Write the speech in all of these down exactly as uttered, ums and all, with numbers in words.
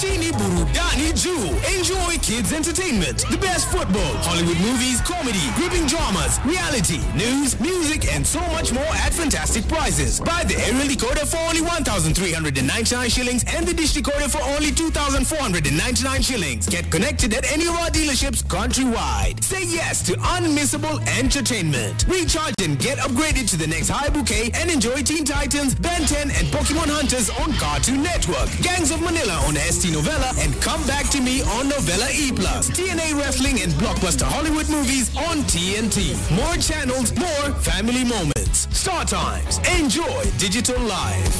Chini burudani juu. Enjoy kids entertainment, the best football, Hollywood movies, comedy, gripping dramas, reality, news, music, and so much more at fantastic prices. Buy the aerial decoder for only one thousand three hundred and ninety-nine shillings and the dish decoder for only two thousand four hundred and ninety-nine shillings. Get connected at any of our dealerships countrywide. Say yes to unmissable entertainment. Recharge and get upgraded to the next high bouquet and enjoy Teen Titans, Ben ten, and Pokemon Hunters on Cartoon Network. Gangs of Manila on S T Novella and Come Back to Me on Novella E plus. T N A Wrestling and blockbuster Hollywood movies on T N T. More channels, more family moments. Star Times. Enjoy digital life.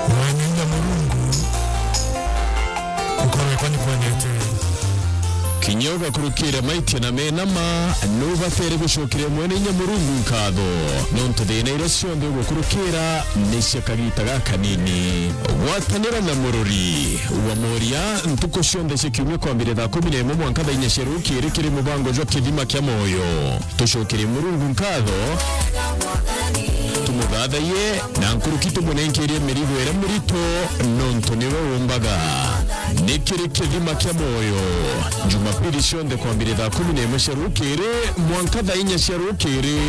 Mwenye Murungu, nkoro yakwa nikwenete. Kinya ugakurukira maitia na mena ma, nubatere gucokeria Mwene Inya Murungu nkatho, nontu thina iria cionthe ugukurukira ni cia kagita gakanini. Gwatanira na murori wa Moria ntuku cionthe cia kiumia kwambire thaa kumi na imwe mwanka thaa inya cia rukiri kiri mubango jwa Kithima kia Moyo. Tucokerie Murungu nkatho, tumuthathaiye, na nkuruki tumunenkerie mirigo iria mirito, nontu niwe umbaga. Ni kiri Kithima kia Moyo, Jumapili cionthe kwambire thaa kumi na imwe cia rukiri mwanka thaa inya cia rukiri.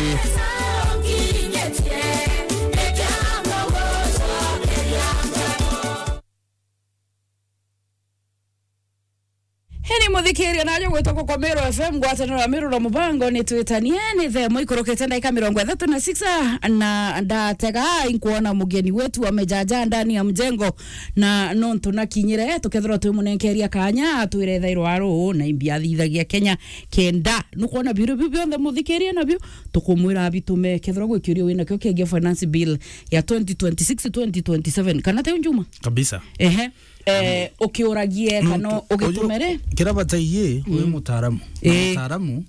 Heni muthikiria najo gwitwa kwa Meru F M, ngwataniro ya Meru na mubango ni twitanie, ni themo ikurukite ndagika mirongo ithatu na six, na ndatega inkuona mugeni wetu amejaja ndani ya mjengo, na nontu nakinyire tukethirwa twimunenkeria kanya atwire thairo aru na imbi athithagia Kenya kenda. Nukwona biuru biu bionthe muthikiria nabio, tukumwira abitume kethirwa gwi kiuria winakio kigia finance bill ya twenty twenty-six twenty twenty-seven, kana teu Njuma? Kabisa. Ehe. Eh, ukiuragie kana ugitumere. Kira bataiye wi mutaaramu. Na mutaaramu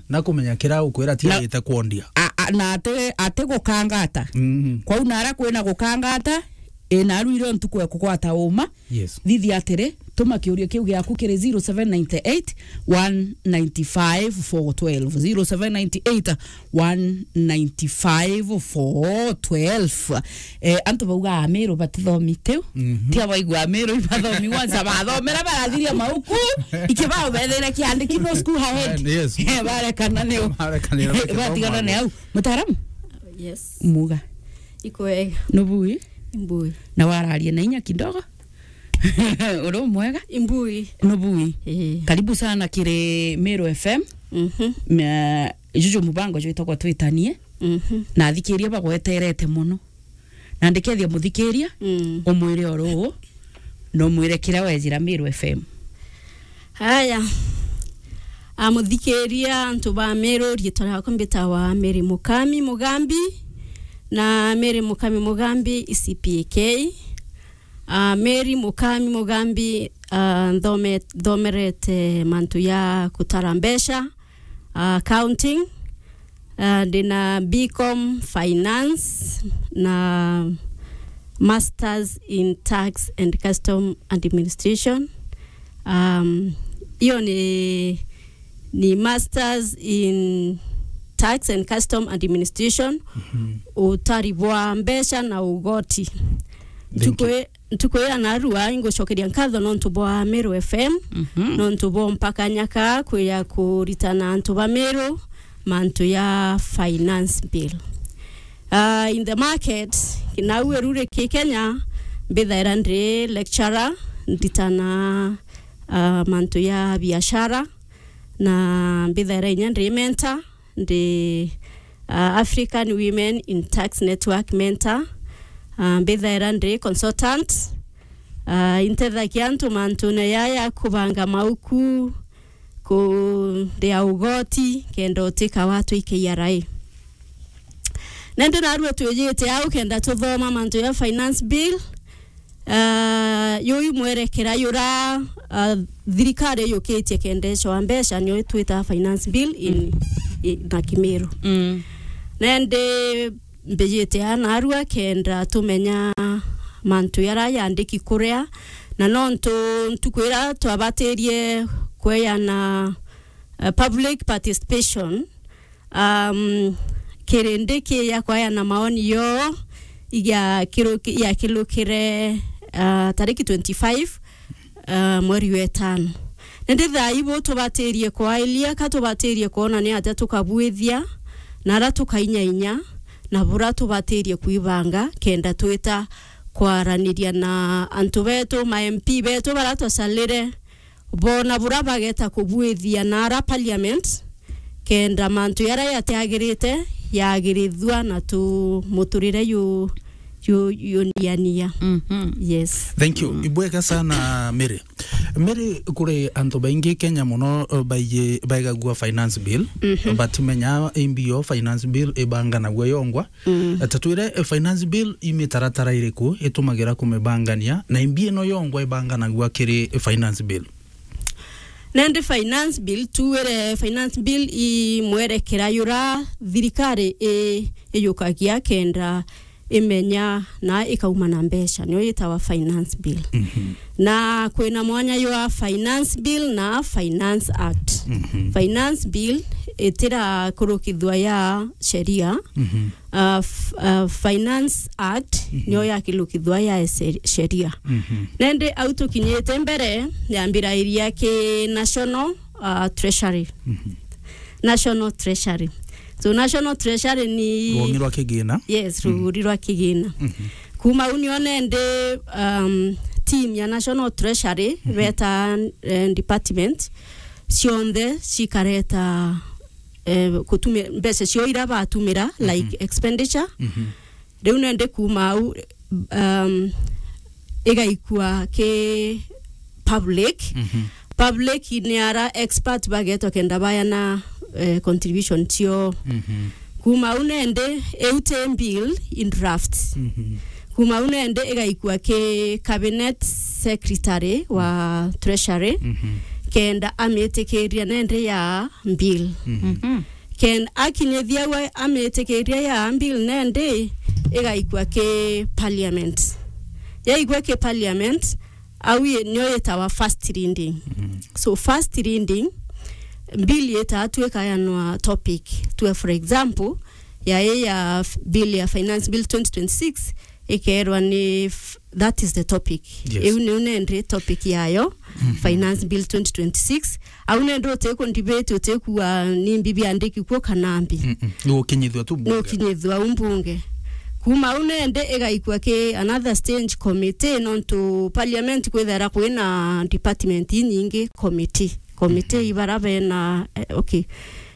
na kumenya kira ukwira ti agite kuondia. A- a- na ati ati gukangata. Kwau nara kwina gukangata, ina aru irio ntuku ya kugwata uma. Yes. Thithi atiri, tuma kiurio kiu giaku kiri zero seven nine eight one nine five four twelve, zero seven nine eight one nine five four twelve. Eh, antu bauga Ameru batithomi tiu. Ti abaigua Ameru ibathomi, kwanza bathomera barathiria mauku, ikibao bethere kiandiki no school ahead. Yes. Eh, barekana nio. Barekanira batigana ni au. Mutaaramu? Yes. Muga. Iko wega. Nubui? Imbui. Na wararia na inya kidogo? Uri mwega? Imbui. Nubui? Eh. Karibu sana kiri Meru F M. Mhm. Na juju mubango jwitagwa Twitanie. Mhm. Na athikiria bagweterete muno. Na ndikethia muthikiria, mm, umwire oro, na umwire kiria wejira Meru F M. Haya. Amuthikiria antu ba Meru, riitwa riakwa mbitawa Mary Mukami Mugambi, na Mary Mukami Mugambi i C P A K. Ah, Mary Mukami Mugambi, ah, nthome-, nthomerete mantu ya kutara mbeca, ah, accounting. Ah, ndina B Com Finance na Masters in Tax and Custom Administration. Um, hiyo ni, ni Masters in Tax and Custom Administration, mhm, utari bwa mbeca na ugoti. Thank you. Ntuku i-, ntuku ya narua ingucokeria nkatho nontu bwa Meru F M, mhm, nontu bwa mpaka nyaka kwija kuritana antu ba Meru mantu ya finance bill. Ah, in the market, kinau eruri ki Kenya, mbithaira ndi lecturer, nditana, ah, mantu ya biashara, na mbithaira inya ndi mentor, ndi, ah, African Women in Tax Network mentor, ah, mbithaira ndi consultant, ah, intethagia antu mantune ya, ya kubanga mauku, kuria ugoti, kenda utika watwi K R A. Nende narua twijite au kenda tuthoma mantu ya finance bill. Ah, yui mwerekera yura, ah, thirikari yukitie kenda icwa mbeca, nio twita finance bill in, i-, na Kimiru. Mm. Nende mbijite aa narua kenda tumenya mantu yara yandiki kuria, na nontu ntuku ira twabatirie kweyana, eh, public participation, um, kirindi ki ya kwayana maoni yo iga kiru-, yakilukire, ah, tariki twenty-five, ah, mweri wa itano. Nindi thaa ii bu tubatirie kwailia, ka tubatirie kwona ni atia tukabwithia, na ara tukainyainyaa, na bura tubatirie kwibanga, kenda twita kwaraniria na antu betu, ma M P betu bara twacalire, bona bura bageta kubwithia na ara parliament, kenda mantu jaria jatiagirite yagirithua na tu muturire yu, yu, yuniania. Mhm. Yes. Thank you. Mm. Ibwega sana, Mary. Mary, kuri antu baingi Kenya muno, uh, baiji-, baigagua finance bill, mhm, batimenya imbio finance bill ibanganagua yongwa. Mm. Ta twire, eh, finance bill i mitaratara iriku itumagira kumibangania, na imbi ino yongwa ibanganagua kiri finance bill? Nandi finance bill, tuwire finance bill i mwerekera jura thirikari i-, iyukagia kenda imenya na ikauma na mbeca, niyo yitawa finance bill. Mhm. Na kwina mwanya jwa finance bill na finance act. Mhm. Finance bill itirakurukithua ya sheria, mhm, uh, f-, uh, Finance Act, mhm, niyo yakirukithua ya se-, sheria. Mhm. Nandi au tukinyite mbere, yambirairia ki National, uh, Treasury. Mhm. National Treasury. So, National Treasury ni rwong'i rwa kigina. Yes, mhm, rwong'i rwa kigina. Mhm. Kuma au nio nandi, um, team ya National Treasury, mhm, beta, eh, department cionthe cikareta, eh, kutumia mbeca cio ira batumira, like, mhm, expenditure. Mhm. Riu nandi kuma au, um, igaikua ki public. Mhm. Public ni ara expert bagetwa kenda bayana, eh, contribution cio. Mhm. Kuma au nandi iu ti bill in draft. Mhm. Kuma au nandi igaikua ki cabinet secretary wa treasury, mhm, kenda amitikiria nandi ya bill. Mhm. Mhm. Ken akinyithia we amitikiria ya bill nandi igaikua ki parliament. Yaikua ki parliament, au ye-, niyo yitawa first reading. Mm. So first reading, bill yitaga tu ikayanwa topic. Tue for example, ya, ya f-, bill ya finance bill twenty twenty-six, ikerwa ni f-, that is the topic. Yes. Iu niu nandi topic yayo, mhm, finance bill twenty twenty-six. Au nandi utikundibate, utikua ni mbi biandiki kuo kana mbi. Mm-mm. Ni gukinyithua tu mbunge. Ni gukinyithua u mbunge. Kuma au nandi igaikua ki another stage committee, nontu parliament kwithira kwina department inyingi committee. Committee, mhm, ibara bena, eh, okay,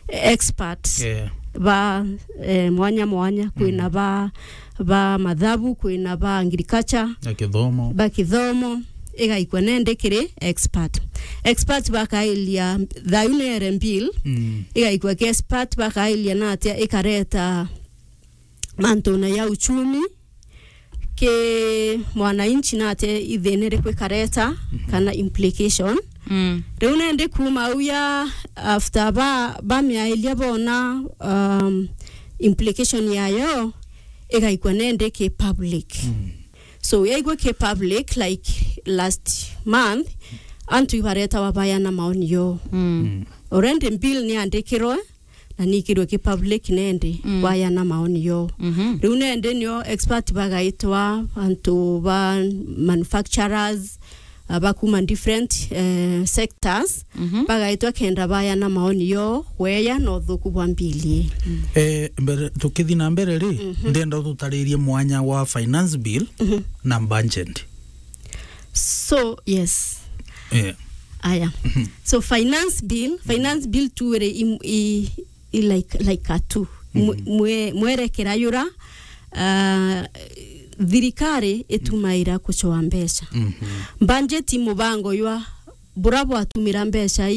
expert, yeah, ba, eh, mwanya mwanya, kwina, mhm, ba, ba mathabu, kwina ba agriculture, ba kithomo, ba kithomo, igaikua nandi kiri expert. Expert bakairia, thayu ni ere bill, mm, igaikua ki expert bakairia na atia ikareta mantune ya uchumi, ki mwananchi na atia ithina iriku ikareta, mhm, kana implication. Mm. Riu nandi kuma au ya after ba, bamiairia bona, um, implication yayo, igaikua nandi ki public. Mm. So, yaigua ki public, like, last month, antu ibaretawa bayana maoni yo. Mm. Mm. Already bill niandikirwe, na nikirwe ki public nandi, mm, bayana maoni yo. Mhm. Riu nandi nio expert bagaitwa, antu ba manufacturers, ah, ba kuma different, eh, sectors, mhm, bagaitwa kenda bayana maoni yo, weya na uthuku bwa bill ii. Mm. Eh, mbere, tukithi na mbere ri, mhm, ndenda tutaririe mwanya wa finance bill, mhm, na budget. So, yes. Eh. Aya. Mhm. So, finance bill, finance bill tuwire i, i, i like, like a two. Mwe-, mhm, mwe-, mwerekera yura, ah, thirikari itumaira kucoa mbeca. Mhm. Budget i mubango ywa bura bwatumira mbeca ii